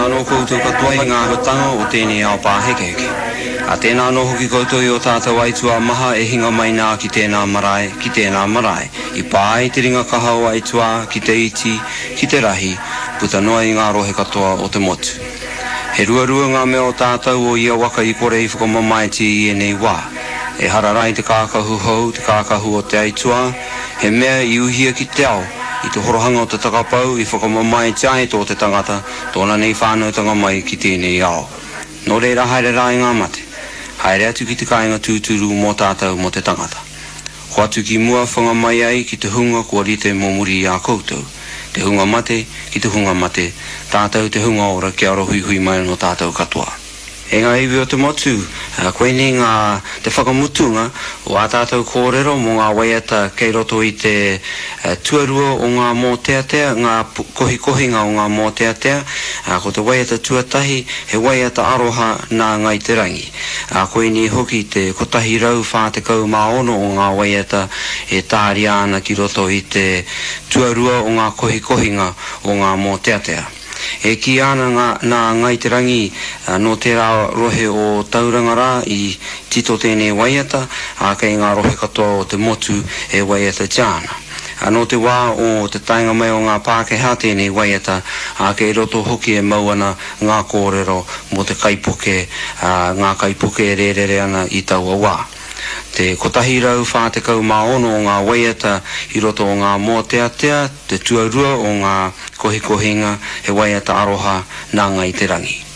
Anō koutou katoa i ngā āhuatanga o tēnei ao pāhekeheke. Ā, tēnā anō hoki koutou i ō tātou aituā maha e hinga mai nā ki tēnā marae, ki tēnā marae, i pā ai te ringa kaha o aituā ki te iti, ki te rahi, puta noa i ngā rohe katoa o te motu. He ruarua ngā mea o tātou o ia waka i kore i whakamamaetia i ēnei wā. Ehara rā i te kākahu hou, te kākahu o te aituā, he mea i uhia ki te ao, i te horohanga o te takapau i whakamamaetia ai tō te tangata, tōna nei whānautanga mai ki tēnei ao. Nō reira haere rā i ngā mate. Haere atu ki te kāinga tūturu mō tātou mō te tangata. Hoatu ki mua whanga mai ai ki te hunga kua rite mō muri i a koutou, te hunga mate ki te hunga mate, tātou te hunga ora kia arohuihui mai anō tātou katoa. E ngā iwi o te motu, koinei ngā, te whakamutunga o ā tātou kōrero mō ngā waiata kei roto i te tuarua o ngā mōteatea, ngā kohikohinga o ngā mōteatea. Ko te waiata tuatahi, he waiata aroha nā Ngāi Te Rangi. Koinei hoki te 146 o ngā waiata e tāria ana ki roto i te tuarua o ngā kohikohinga o ngā mōteatea. E kīia ana ngā, nā Ngāi Te Rangi nō tērā rohe o Tauranga rā i tito tēnei waiata, ā, kei ngā rohe katoa o te motu e waiatatia ana. Nō te wā o te taenga mai o ngā Pākehā tēnei waiata, ā, kei roto hoki e mau ana ngā kōrero mō te kaipuke, ā, ngā kaipuke e rērere ana i taua wā. Te 146 o ngā waiata i roto o ngā mōteatea, te tuarua o ngā kohikohinga, he waiata aroha nā Ngāi Te Rangi.